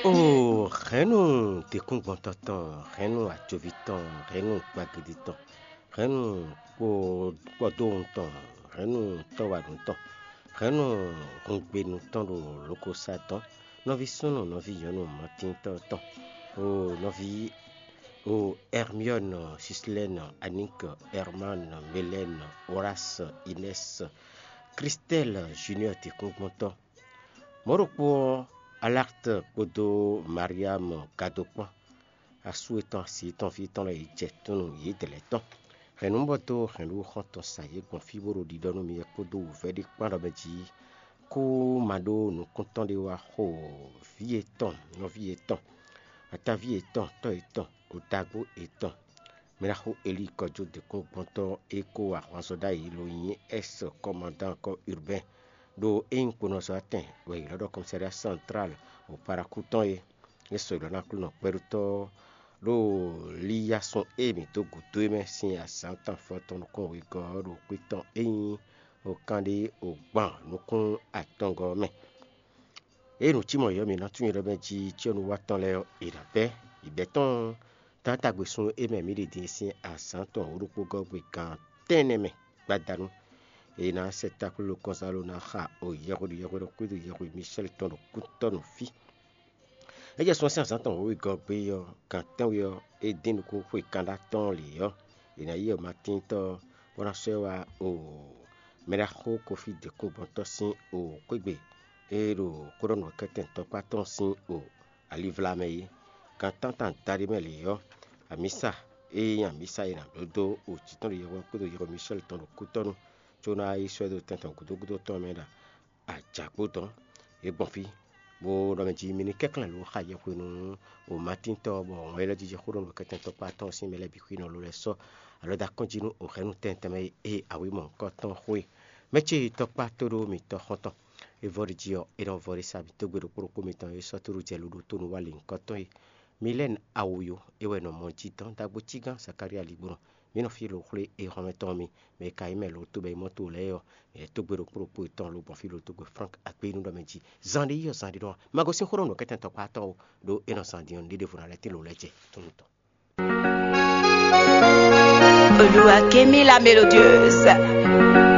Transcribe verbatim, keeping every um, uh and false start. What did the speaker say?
Oo, hɛ̌nnu dǐkúngbɔntɔ́ tɔn, hɛ̌nnu ajoví tɔn, hɛ̌nnu gbagidi tɔn, hɛ̌nnu kpɔdóhun tɔn, hɛ̌nnu tɔ́wanu tɔn, hɛ̌nnu hungbenu tɔn ɖo lokosá tɔn, nɔví súnnu, nɔví nyɔ̌nu, mɔtíntɔ́ tɔn, oo, nɔví, oo, Hermione, Sislɛ́n, Aník, Herman, Melɛ́n, Horáce, Inɛ́s, Kristɛ́l, Juniɔ́ɔ dǐkúngbɔntɔ́. Mɔ̌ ɖokpó ɔ́, Alɛ́rt kpódó Mariam gado kpɔ́n, asú yětɔn, asi yětɔn, fí yětɔn lɛ́ɛ, yě jɛ tɔ́n nú yědɛɛ lɛ́ɛ tɔn. Hɛ̌nnúbɔ́ dó hɛ̌nnu xɔ́ntɔn sa yě gbɔn fí bó ɖo ɖiɖɔ nú mi wɛ kpódó wǔvɛ́ ɖé kpán ɖɔ mɛ jí kú ma ɖó nukúntɔ́ ɖé wá xo vǐ yětɔn, nɔví yětɔn, ataví yětɔn, tɔ́ yětɔn, otagbó yětɔn. Mɛ ɖaxó Elíi kɔjó dǐkúngbɔntɔ́ e ko wa ahwanzɔ ɖ'ayǐ lo nyí S kɔmandán kɔ Urbain, ɖó é nyí kponɔzɔ́watɛn wɛ è ylɔ́ ɖɔ Commissariat Central ɖo Parakou tɔn é. É sɔgbe ná Aklúnɔ kpɛɖótɔ́ ɖo líyásɔ́n e mǐ dó gǔdo é mɛ sín azǎn tɔn afɔtɔn nukún wegɔ́ ɔ́ ɖo xwé tɔn e nyí okanɖé ogban nukún atɔngɔ́ ɔ́ mɛ. Ée nǔ cí mɔ̌ ɔ́, mǐ ná tunwun ɖɔ mɛ jí cyɔ́núwatɔ́ lɛ́ɛ ɔ́, è nǎ bɛ́. È bɛ̌ tɔn tántagbe sun e mɛ mǐ ɖe din sín azǎn tɔn wǒ ɖokpó gɔ́ gbe gan tɛ́nnɛ mɛ gbadanu. È nǎ sɛ taklúlú kɔnzáló ná xa o yɛhweɖu yɛhweɖu xwédo yɛhwe Misɛ́li tɔn ɖo kútɔ́ nú fí. É jɛ sun ɔ́ sín azǎn tɔn wǒ wegɔ́ gbe ɔ́, gan tɛ́nwe ɔ́, é dín nukún xwe kanɖá tɔn lě ɔ́, è nǎ yi Matíntɔ́ ɔ́, bó ná sɔ́ ɛ wá o mɛɖaxó Kofí dǐkúngbɔntɔ́ sín o xwégbe e ɖo xó ɖɔ nǔkɛntɛn tɔkpá tɔn sín o alivla mɛ é. Gan tántán daɖé mɛ lě ɔ́, amǐsa e nyí amǐsa e nǎ bló dó o jǐ tɔn ɖo yɛhwesin kpódó yɛhwe Misɛ́li tɔn ɖo kútɔ́nu, có ná yi sɔ́ ɛ dó tɛn tɔn gǔdo gúdo tɔn mɛ ɖo ajǎkpo tɔn. É gbɔn fí, bó ɖɔ mɛ jí mi ní kɛnklɛ́n lǒ xa yɛhwesin nú o Matíntɔ́ ɔ́, bɔ wǎn élɔ́ jiji xó ɖɔ nǔkɛntɛn tɔkpá tɔn sín mɛ lɛ́ɛ bǐ xwín ɔ́ ló lɛ́ sɔ́ alɔ dó akɔ́njí nú o hɛ̌nnu tɛnmɛ tɛnmɛ e awǐ mɔ̌hunkɔtɔn xwe. Mɛ ce tɔkpá tó ɖó mitɔ́ xɔ́ntɔn. É vɔ ɖi jí ɔ́, é nɔ vɔ ɖi sa mǐ dó gbe ɖokpó ɖokpó mitɔn e sɔ́ tóɖó jɛ luɖo tó nú wá lǐnkɔtɔn é. Milɛ́ni Awoyo é wɛ nɔ mɔ jí dɔn ɖagbo cí gán Zakalía ligbɔnɔ. Mǐ nɔ fí lo xwlé é hɔnmɛ tɔn mi, mɛ e ka nyí mɛ lo tó bɔ é mɔ to lɛ́ɛ ɔ́, mǐ lɛ́ tó gbe ɖokpó ɖokpó yětɔn lobɔ fí lo tó gbe Frank Agbénu ɖɔ mɛ jí. Zan ɖé yí ɔ́, zan ɖé nɔ ma gosín xó ɖɔ nǔkɛntɛn tɔkpá tɔn o, ɖó é nɔ zan din ɔ́, nǔɖé ɖěvo ná lɛ́ tín lo lɛ́ jɛ tó nú tɔn. Olúwa ké mí la mélodieuse.